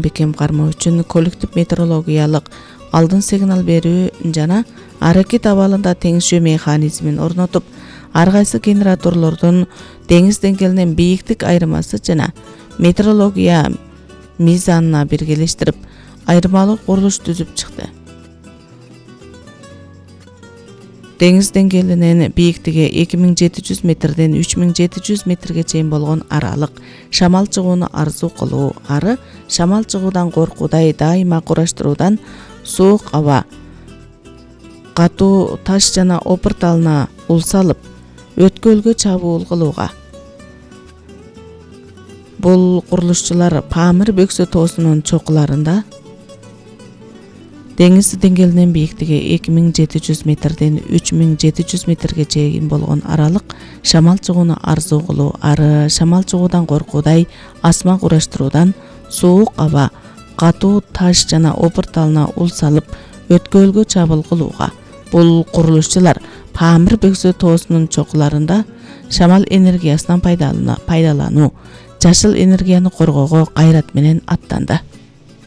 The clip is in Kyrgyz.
бекем кармоо үчүн коллектив метеорологиялык алдын сигнал берүү жана аракет абалында теңишүү механизмин орнотуп, ар кайсы генераторлордун деңиз деңгээлинен бийиктик айырмасы жана метеорология мизанына биргелештирип, айырмалуу курулуш түзүп чыкты. Деңиз деңгээлинен бийиктиги 2700 метрден 3700 метрге чейин болгон аралык шамал чыгууну арзуу кылуу, ары шамал чыгуудан коркуудай дайыма кураштыруудан суук аба, катуу таш жана опур талына ул салып, өткөлгө чабуул кылууга. Бул курулушчулар Памир бөксө тоосунун чокуларында деңиз деңгээлинен бийиктиги 2700 метрден 3700 метрге чейин болгон аралык шамал чыгууну арзуу кылуу, ары шамал чыгуудан коркуудай асма кураштыруудан суук аба, катуу таш жана опур талына ул салып, өткөлгө чабуул кылууга. Бул курулушчулар Памир бөксө тоосунун чокуларында шамал энергиясынан пайдалануу, жашыл энергияны коргоого кайрат менен аттанды.